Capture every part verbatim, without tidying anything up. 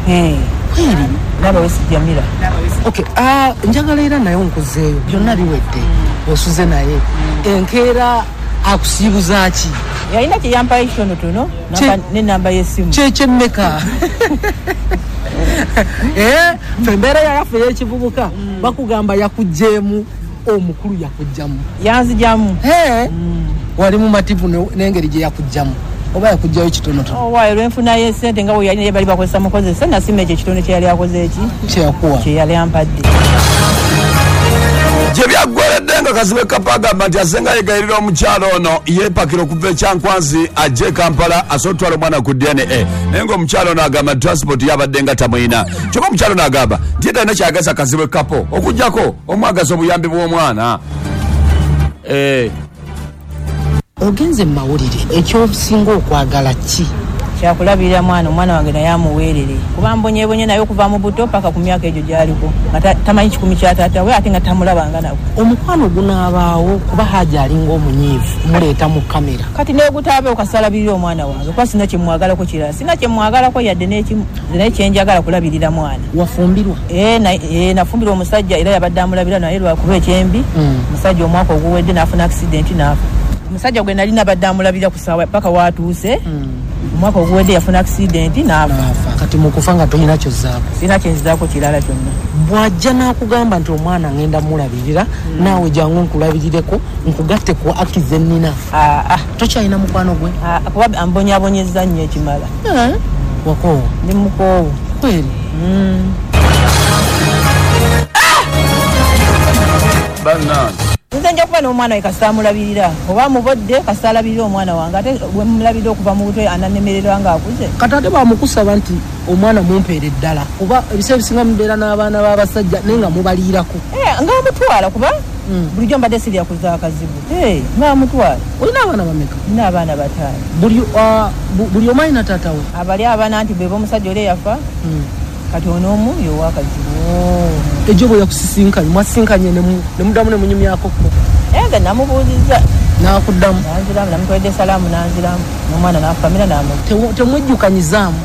Hey. Kweri Naba Jamila. Okay, ah njagala era naye nkuzeeyo byonna biwedde osuze naye enkeera akusiibuza ki? Yalina kye yampayo kitonotono n'ennamba y'essimu. Kyekyemmeka? Eh, ffe embeera yaffe ey'ekivubuka bakugamba yakuggyeemu omukulu yakuggyamu. Yanzigyamu. Wali mumativu n'engeri gye yakuggyamu oba yakuggyayo kitonotono? Owaayo lwenfunayo essente nga bwe yali naye bali bakozesa mukozesa nasima ekyo ekitono kye yali akoze eki? Kye yakuwa. Kye yali ampadde. Gye byaggweredde nga Kazibwe Kapo agamba nti asenga yegayirira omukyalo ono yeepakira okuva e Kyankwanzi ajje e Kampala asobole okutwala omwana ku D N A naye ng'omukyalo ono agamba nti transport yabadde nga tamuyina. Kyokka omukyalo ono agamba nti ye talina ky'ayagaza Kazibwe Kapo okuggyako omwagaza obuyambi bw'omwana. Eh. Ogenze mu mawulire ekyosinga okwagala ki? Kyakulabirira mwana, omwana wange naye amuweerere kuba mbonyebonye naye okuva mu buto paka ku myaka egyo gy'aliko nga tamanyi kikumi kya taata we ate nga tamulabanga nako. Omukwano gunaabaawo kuba Haji alinga omunyiivu muleeta mu kamera. Kati neegutaabe okasalabirira omwana wange kuba sina kye mmwagalako kirala, sina kye mmwagalako yadde n'ekimu, nze naye kye njagala kulabirira mwana. Wafumbirwa? Ee, nafumbirwa omusajja era yabadde amulabira naye lwakuba ekyembi omusajja omwaka oguwedde n'afuna accident n'afa. Omusajja gwe nali nabadde amulabira ku ssaawa paka waatuuse omwaka oguwedde yafuna accident n'afa. Kati mu kufa nga tolina ky'ozzaako? Sirina kye nzizaako kirala kyonna. Bw'ajja n'akugamba nti omwana ngenda mulabirira naawe jangu nkulabirireko nkugatte ku aki ze nnina. Tokyalina mukwano gwe? Kuba ambonyaabonyezza nnyo ekimala. Wakoowa? Ndi mukoowu. Kweri? Bannange. Nze nja kuba n'omwana we kasita amulabirira oba amubodde kasita alabirira omwana wange ate bwe mulabirira okuva mu buto ananemererwa ng'akuze. Kati ate bamukusaba nti omwana mumpeere ddala kuba ebiseera ebisinga mubeera n'abaana b'abasajja naye nga mubaliirako. Ng'amutwala kuba bulijjo mbadde sirya kuza akazibu. Ng'amutwala. Olina abaana bameka? Nina abaana bataano. Buli omu alina taata we? Abali abaana nti bwe b'omusajja oli eyafa kati ono omu y'owakazibu. Ejo bwe yakusisinkanye mwasisinkanye ne muddamu ne munyumyako ko? Nze namubuuzizza. N'akuddamu? Nanziramu, namutwalidde salaamu n'anziramu n'omwana n'afukamira n'amuwa. Temwejjukanyizaamu?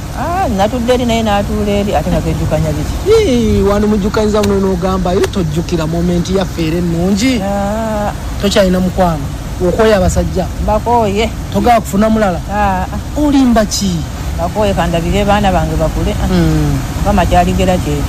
Natudde eri naye n'atuula eri ate nga twejjukanya biki? Wandimujjukanyizaamu n'ogamba ye tojjukira momenti yaffe era ennungi. Tokyalina mukwano? Okooye abasajja? Mbakooye. Togala kufuna mulala? Olimba ki? Mbakooye kandabire baana bange bakule. Mukama kyaligera kyekyo.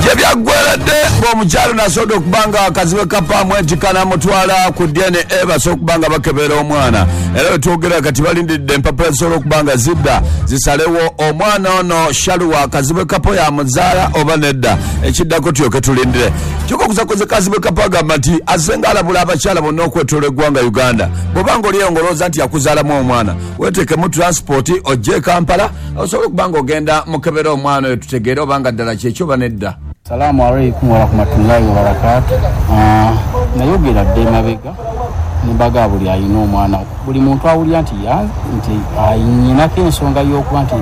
Gye byaggweredde ng'omukyalo nasobodde okuba nga Kazibwe Kapo amwetika n'amutwala ku D N A basobole okuba nga bakebera omwana era we twogera kati balindiridde empapula zisobola okuba nga zidda zisalewo omwana ono Shaluwa Kazibwe Kapo yamuzaala oba nedda ekiddako tulyoke tulindire. Kyokka okuzakoze Kazibwe Kapo agamba nti asenga alabula abakyala bonna okwetoola eggwanga Uganda bw'oba ng'oliyo ng'olowooza nti yakuzaalamu omwana weetekemu transport ojje e Kampala osobola okuba ng'ogenda mukebera omwana oyo tutegeere oba nga ddala kyekyo oba nedda. Salamu alaikum warahmatullahi wabarakatuh. Nayogera dde emabega ne mbaga buli alina omwana buli muntu awulira nti nti anyinako ensonga y'okuba nti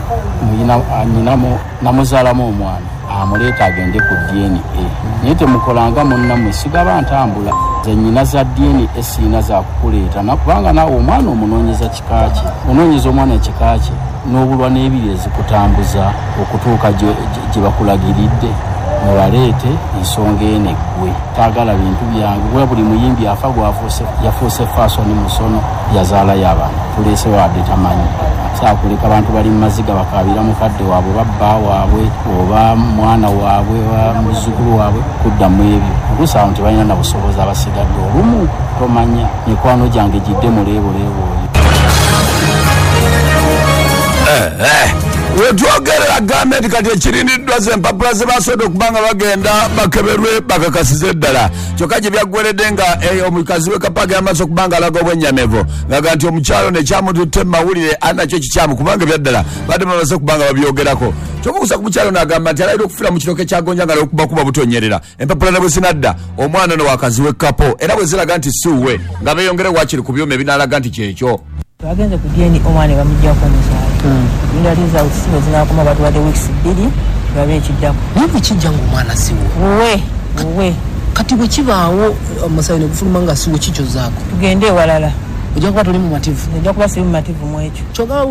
namuzaalamu omwana amuleeta agende ku D N A naye temukolanga munnammwe sigaba ntambula nze nnyina za D N A siina za kukuleeta kubanga naawe omwana omunoonyeza kika kye onoonyeza omwana ekika kye n'obulwa n'ebiri ezikutambuza okutuuka gye bakulagiridde mubaleete ensonga eno eggwe. Taagala bintu byange kuba buli muyimbi afa gwafuuse yafuuse faasoni musono yazaalayo abaana tuleese wadde tamanyi saakuleka abantu bali mu maziga bakaabira mukadde waabwe oba bba waabwe oba mwana waabwe oba muzzukulu waabwe kuddamu ebyo oluusi awo tebalina na busobozi abasigadde olumu tomanya mikwano gyange gidde muleebuleebu oyo. Wetwogerera gavumenti kati ekirindiddwa ze empapula ze basobodde okuba nga bagenda bakeberwe bakakasize ddala kyokka gye byaggweredde nga omukazi we Kapo agenda maaso okuba nga alaga obwennyamivu ng'aga nti omukyalo nekyamututte mu mawulire ali nakyo kikyamu kubanga ebyaddala badde bamaze okuba nga babyogerako. Kyokka okusa ku mukyalo n'agamba nti alayira okufiira mu kiroko ekyagonja nga okubakuba butonyerera empapula ne bwe zinadda omwana ono wakazi we Kapo era bwe ziraga nti si wuwe nga beeyongere waakiri ku byuma ebinaalaga nti kyekyo. Twagenze ku D N A omwana ne bamuggyako omusaayi. Linda results bwe zinaakoma batuwadde weeks bbiri tulabe ekiddako. Naye bwe kijja ng'omwana si wuwe? Wuwe, wuwe. Kati bwe kibaawo omusaayi ne gufuluma nga si wuwe kikyozaako? Tugende ewalala. Ojja kuba toli mumativu? Nja kuba siri mumativu mu ekyo. Kyokka